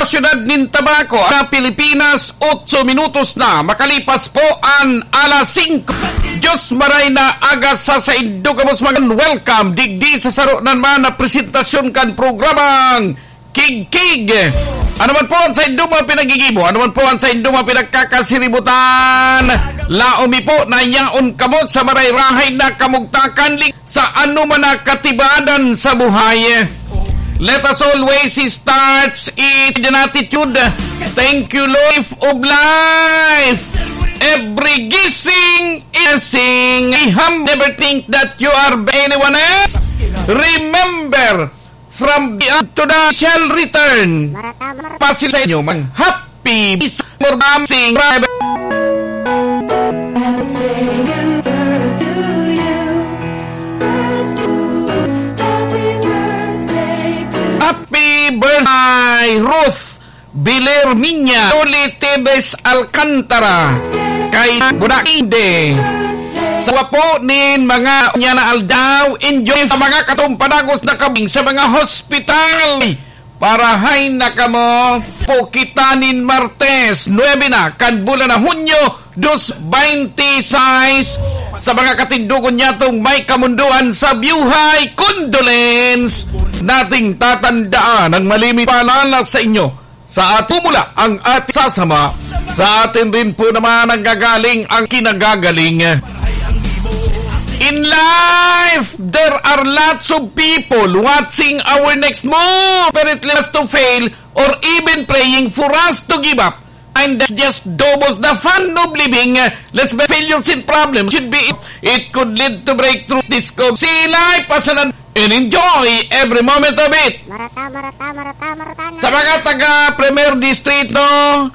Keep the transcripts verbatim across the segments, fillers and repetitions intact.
Siyudad nin Tabaco, na Pilipinas, otso minutos na makalipas po an alas singko. Dios maray na aga sa saindo gabos mga welcome digdi sa saro na naman na presentasyon kan programang Kigkig. Ano man po ang saindo mga pinagigibo, ano man po ang saindo mga pinagkakasiributan, laomi po na yaon kamo sa marayrahay na kamugtakan, sa ano man na katibadan sa buhay. Let us always start it with an attitude. Thank you, Lord, of life. Every gising is a sing. I have never think that you are anyone else. Remember, from the to the shall return. Marata, marata. Pasil sa inyo, mga happy, more dancing, Happy birthday, Ruth Bilerminya, Loli Tebes Alcantara, kay Budak Inde. Sa wapo nin mga unya na aldaw, enjoy sa mga katong padagos na kabing sa mga hospital. Parahay na kamo, po kita nin Martes, nuebe na, kan bulan na Hunyo, dos veintiseis. Sa mga katindogon niyatong may kamundoan sa buhay, condolence. Nating tatandaan ang malimit paalala sa inyo. Sa atin mula ang ating sasama, sa atin rin po naman nanggagaling ang kinagagaling. In life, there are lots of people watching our next move, desperately us to fail, or even praying for us to give up. And that's just doubles the fun of living. Let's be failures and problems should be it. It could lead to breakthrough, discover, see life as an and enjoy every moment of it. Marata, marata, marata, marata na. Sa mga taga Primer Distrito,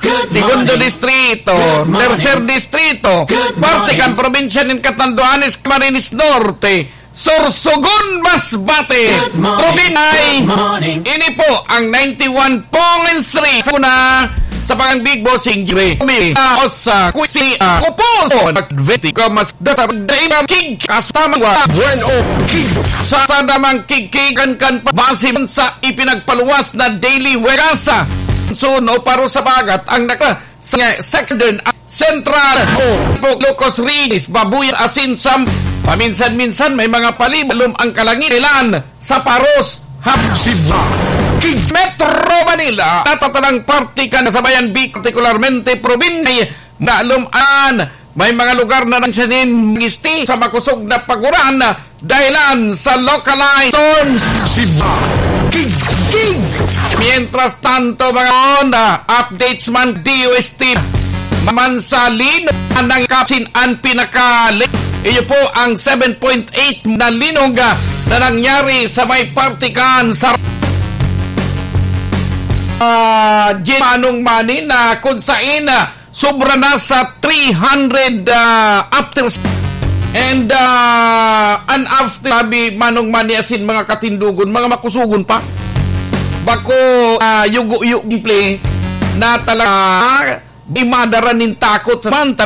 Good Segundo morning. Distrito, Good morning. Tercer Distrito, Good parte morning. Kan probinsya nin Catanduanes, Camarines Norte, Sorsogon, Masbate, Good morning. Probinsya. Good morning. Ini po ang ninety-one point three Funa sa Pangambig Bossing Jimmy. Kumi, ah, Osa, Kuisi, ah, Kupuso, Nagveti, Kamas, Data, Daimang Kig, Kastamang Wa. Bueno, Kig. Sa sadamang kigkigan kan pa, base sa ipinagpaluwas na Daily Wegasa. So, no, paro sa bagat, ang naka, sa second, ah, Central, oh, Locos Reyes, Babuya, Asin, Sam, paminsan-minsan may mga palibalom ang kalangitan. Sa Paros, Hap-, Siba, King-, Metro Manila, natatanang parte kan sa Bayan Big, partikularmente probinsya, na lumaan, may mga lugar na nang siya nin magisti sa makusog na paguran, dahilan sa localized storms. Siba, King, King. Mientras tanto, mga on, ah, updates man, D O S T, man sa lin-, ang kapsin ang pinakali-, iyo po ang seven point eight na linog, ah, na nangyari sa may partikan sa, ah, Manong Mani na kung sain, ah, sobra na sa three hundred, ah, after. And, ah, an after, sabi Manong Mani asin mga katindogon, mga makusugon pa. Bako, ah, yugo-yugo, simple, na talaga, di madara nin takot sa